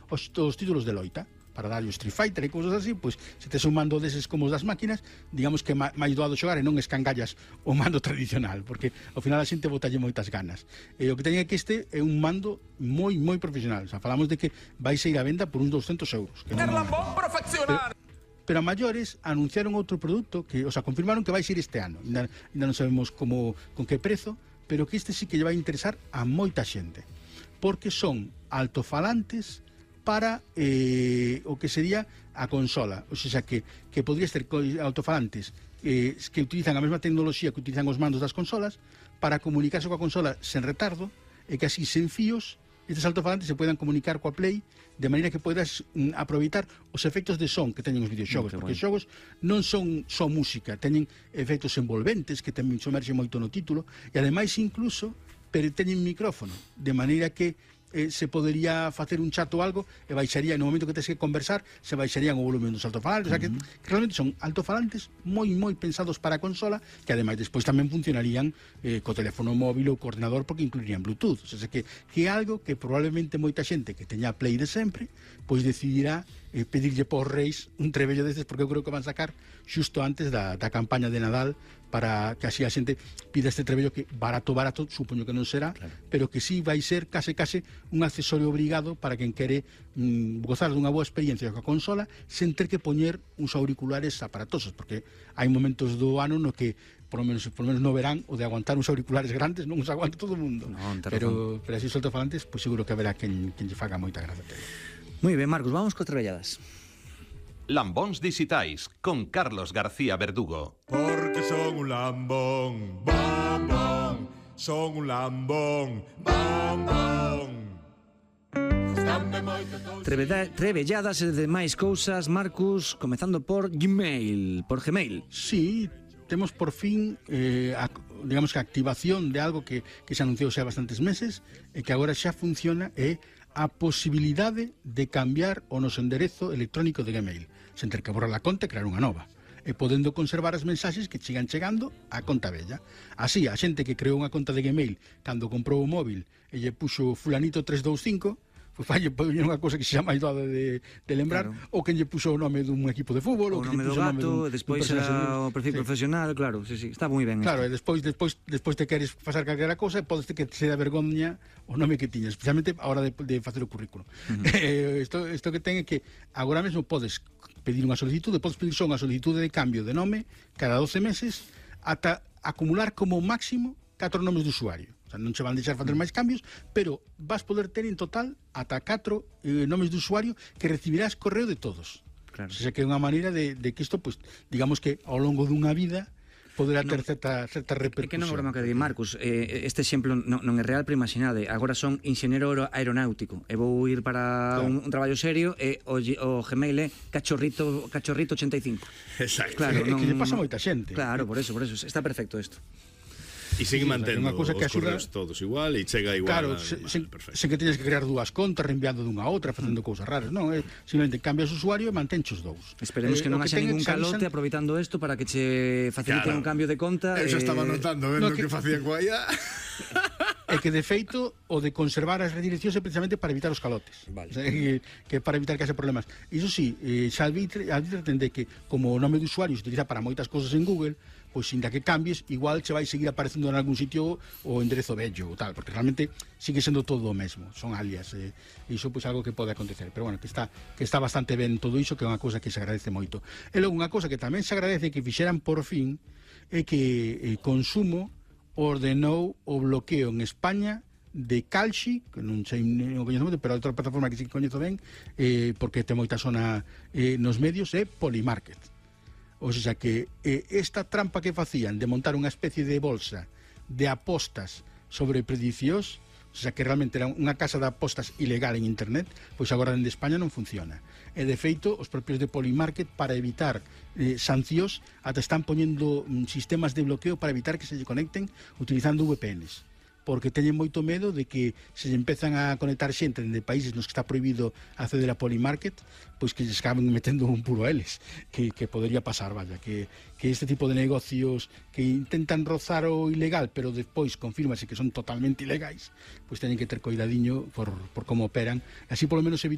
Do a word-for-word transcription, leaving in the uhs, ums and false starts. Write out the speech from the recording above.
os, os títulos de loita para darlle o Street Fighter e cousas así, pois se tes un mando deses como os das máquinas, digamos que máis doado xogar e non escangallas o mando tradicional, porque ao final a xente botalle moitas ganas. E o que teña que este é un mando moi, moi profesional. O sea, falamos de que vai ser a venda por uns doscientos euros. Que non... Pero, pero a maiores anunciaron outro produto que, o sea, confirmaron que vai ser este ano. Ainda, ainda non sabemos como, con que prezo, pero que este sí que lle vai interesar a moita xente, porque son altofalantes para eh, o que sería a consola, o sea, que, que podría ser altofalantes eh, que utilizan a mesma tecnoloxía que utilizan os mandos das consolas para comunicarse coa consola sen retardo, e que así sen fíos estes altofalantes se poidan comunicar coa Play de maneira que poidas mm, aproveitar os efectos de son que teñen os videoxogos, porque os xogos non son só música, teñen efectos envolventes que tamén somerxen moito no título, e ademais incluso pero teñen micrófono, de maneira que Eh, se podería facer un chat ou algo e baixaría, no momento que tes que conversar, se baixarían o volumen dos altofalantes. Uh -huh. O sea, que, que realmente son altofalantes moi moi pensados para a consola, que ademais despois tamén funcionarían eh, co teléfono móvil ou co ordenador, porque incluirían Bluetooth. O sea, que, que é algo que probablemente moita xente que teña Play de sempre pois decidirá eh, pedirlle por reis un trebello destes, porque eu creo que van sacar xusto antes da, da campaña de Nadal, para que así a xente pida este trebello que barato, barato, supoño que non será, claro, pero que sí vai ser case case un accesorio obrigado para quen quere mm, gozar dunha boa experiencia coa consola sen ter que poñer uns auriculares aparatosos, porque hai momentos do ano no que por lo menos, por lo menos no verán, o de aguantar uns auriculares grandes non os aguanta todo o mundo, no, pero, pero así soltofalantes, pois seguro que haberá quen, quen lle faga moita gracia. Moi ben, Marcos, vamos co trebelladas. Lambóns dixitais con Carlos García Verdugo. Porque son un lambón, bom, bom. Son un lambón, bom, bom. Trebeda, trebelladas e demais cousas, Marcos, comezando por Gmail, por Gmail. Sí, temos por fin eh, a, digamos que a activación de algo que, que se anunciou xa bastantes meses e que agora xa funciona, é a posibilidade de cambiar o noso enderezo electrónico de Gmail, sen ter que borrar a conta e crear unha nova, e podendo conservar as mensaxes que chegan chegando á conta vella. Así, a xente que creou unha conta de Gmail cando comprou o móvil e lle puxo fulanito tres dous cinco, pois falle unha cousa que se chama máis doada de, de lembrar, claro, ou que lle puxo o nome dun equipo de fútbol, o nome do gato, e despois o perfil sí. profesional, claro, sí, sí, está moi ben. Claro, e despois, despois, despois te queres pasar calquera cousa, podes ter que se da vergoña o nome que tiñas, especialmente a hora de, de facer o currículo. Uh -huh. eh, isto, isto que ten é que agora mesmo podes pedir unha solicitude, podes pedir só unha solicitude de cambio de nome cada doce meses, ata acumular como máximo catro nomes de usuario. O sea, non se van deixar facer máis cambios, pero vas poder ter en total ata catro eh, nomes de usuario que recibirás correo de todos. Claro. O sea, que é unha maneira de, de que isto, pues, digamos que ao longo dunha vida poderá ter no, certa, certa repercusión. É que non é broma que di, Marcos, eh, este exemplo non, non é real, pero imaginade, agora son enxeñero aeronáutico e vou ir para claro. un, un traballo serio e o, o Gmail é cachorrito, cachorrito ochenta e cinco. Exacto. Claro, é, non, é que lle pasa moita xente. Claro, por eso, por eso, está perfecto isto. E sigue sí, mantendo o sea, os correos todos igual e chega igual. Claro, se, se, se que teñes que crear dúas contas, reenviando dunha a outra, facendo mm. cousas raras. Non, é simplemente cambias o usuario e mantenche os dous. Esperemos eh, que non haxa ningún calote avisan... aproveitando isto para que che faciliten claro. un cambio de conta. Eso eh... estaba notando, vendo no, que, que facían coa I A. É que, de feito, o de conservar as redireccións é precisamente para evitar os calotes. Vale. O sea, que, que para evitar que haxe problemas. Iso sí, eh, xa advirten que como o nome de usuario se utiliza para moitas cousas en Google, pois, sinda que cambies, igual che vai seguir aparecendo en algún sitio o enderezo vello ou tal, porque realmente sigue sendo todo o mesmo, son alias, e eh, iso pois algo que pode acontecer, pero bueno, que está que está bastante ben todo iso, que é unha cousa que se agradece moito. E logo unha cousa que tamén se agradece que fixeran por fin é que eh, Consumo ordenou o bloqueo en España de Calxi, que non sei non coñezo moito, pero outra plataforma que sí coñezo ben, eh, porque ten moita zona eh, nos medios, é Polymarket. O sea que eh, esta trampa que facían de montar unha especie de bolsa de apostas sobre predicións, o sea que realmente era unha casa de apostas ilegal en internet, pois agora en España non funciona. E de feito, os propios de Polymarket, para evitar eh, sancións, ata están poñendo mm, sistemas de bloqueo para evitar que se lle conecten utilizando V P Ns. O porque teñen moito medo de que se empezan a conectar xente de países nos que está prohibido acceder a Polymarket, pois que lles acaben metendo un puro a eles, que, que podría pasar, vaya, que, que este tipo de negocios que intentan rozar o ilegal, pero despois confírmase que son totalmente ilegais, pois teñen que ter coidadiño por, por como operan, así polo menos evitar